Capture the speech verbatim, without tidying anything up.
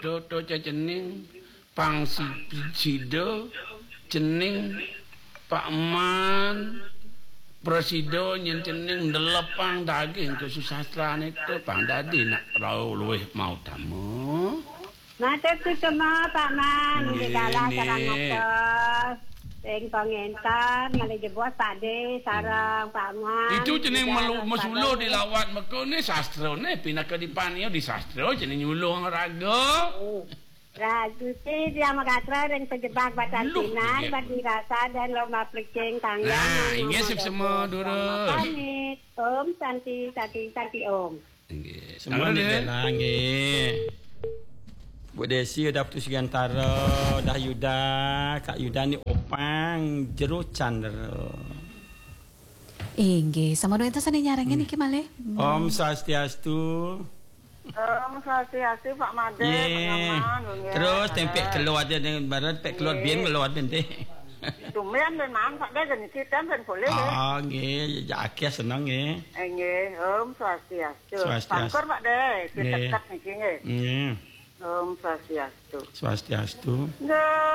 Toto cening pang si-, sida, cening Pak Man, prasida nyen cening ndelepang daging kesusastrane to pang dadi nak rauh luwih mautama. Matur suksma, Pak Man, nggih, nggih, dalah sareng nggih. Ngatos. Ing pangenter, malih jebos Pak De, sareng Pak Man, itu cening nggih, melu-, dalah mesuluh sareng dilawat meko ne sastrane, pinaka dipaniyo di sastra, cening nyuluh raga. Oh. Rajuti Dhyama Gatra ring pajebag batan Luh, pinai, nggih. Badi rasa dan lomba plecing tangga. Nah, nang inggih, nama suksma, Dago durus. Pamit. Om Santi, Santi, Santi Om. Nggih. Semua Tangan, ni eh. Bela, nggih. Bu Desi udah putus gantara, udah Yuda, Kak Yuda ni opang jero candra. Inggih, sama dua itu sane nyarengin Hmm. niki malih. Hmm. Om Swastiastu. Om Swastiastu, Pak Made, Nggih. Pak Nyoman, nggih, Terus Pak tempek Made. Keluar dia dengan barat, pek keluar Nggih. Biyen keluar nanti. Tumben memang, Pak De, geni kita ben boleh, nggih. Ah, nggih, ya, ya, akeh seneng, nggih. Eh, nggih, Om Swastiastu. Swastiastu. Pangkur, Pak De, Nggih. Dekat niki, nggih. Nggih. Om Swastiastu. Swastiastu. Nggih.